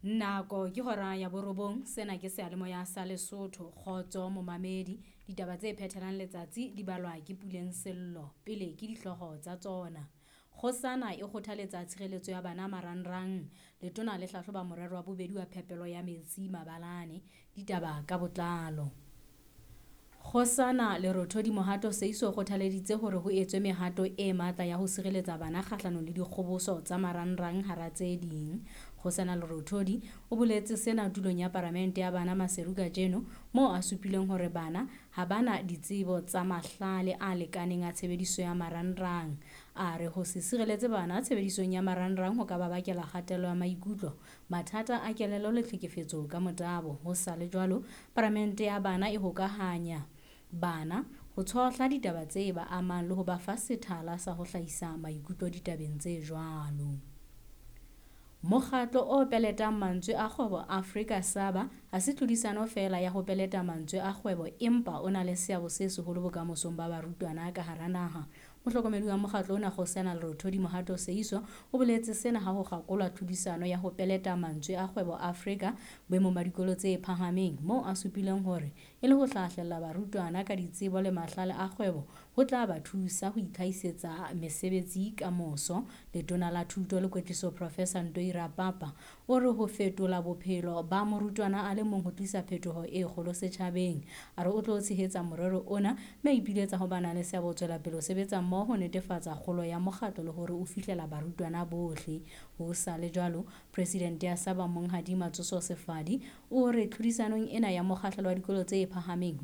Nako ke hora ya borobong, sena ke seyalemoya sa Lesotho. Kgotso momamedi, ditaba tse phethelang letsatsi di balwa ke Puleng Sello. Pele ke dihlooho tsa tsona. Kgosana e kgothaletsa tshireletso ya bana marangrang. Letona le hlahloba morero wa bobedi wa phepelo ya metsi mabalane. Ditaba ka botlalo. Kgosana Lerothodi Mohato Seiso o kgothaleditse hore ho etswe mehato e matla ya ho sireletsa bana kgahlanong le dikgoboso tsa marangrang hara tse ding. Kgosana Lerothodi o boletse sena tulong ya paramente ya bana Maseru kajeno, moo a supileng hore bana ha bana ditsebo tsa mahlale a lekaneng a tshebediso ya marangrang. A re ho se sireletse bana tshebedisong ya marangrang ho ka ba bakela kgatello ya maikutlo, mathata a kelello le tlhekefetso ka motabo. Ho sa le jwalo, paramente ya bana e hokahanya bana ho tshohla ditaba tse ba amang le ho ba fa sethala sa ho hlahisa maikutlo ditabeng tse jwalo. Mokgatlo o peletang mantswe a kgwebo Afrika Saba ha se tlhodisano feela ya ho peleta mantswe a kgwebo empa o na le seabo se seholo bokamosong ba barutwana ka hara naha. Mohlokomedi wa mokgatlo ona Kgosana Lerothodi Mohato Seiso o boletse sena ha ho kgakolwa tlhodisano ya ho peleta mantswe a kgwebo Afrika boemong ba dikolo tse phahameng, moo a supileng hore e le ho hlahlella barutwana ka ditsebo le mahlale a kgwebo ho tla ba thusa ho itlhahisetsa mesebetsi ka moso. Letona la Thuto le Kwetliso Professor Ntoi Rapapa o re ho fetola bophelo ba morutwana a le mong ho tlisa phetoho e kgolo setjhabeng. A re o tlo tshehetsa morero ona mme a ipiletsa ho ba nang le seabo ho tswela pele ho sebetsa mmoho ho netefatsa kgolo ya mokgatlo le hore o fihlela barutwana bohle. Ho sa le jwalo, Presidente ya Saba Monghadi Matsoso Sefadi o re tlhodisanong ena ya mokgahlelo wa dikolo tse phahameng.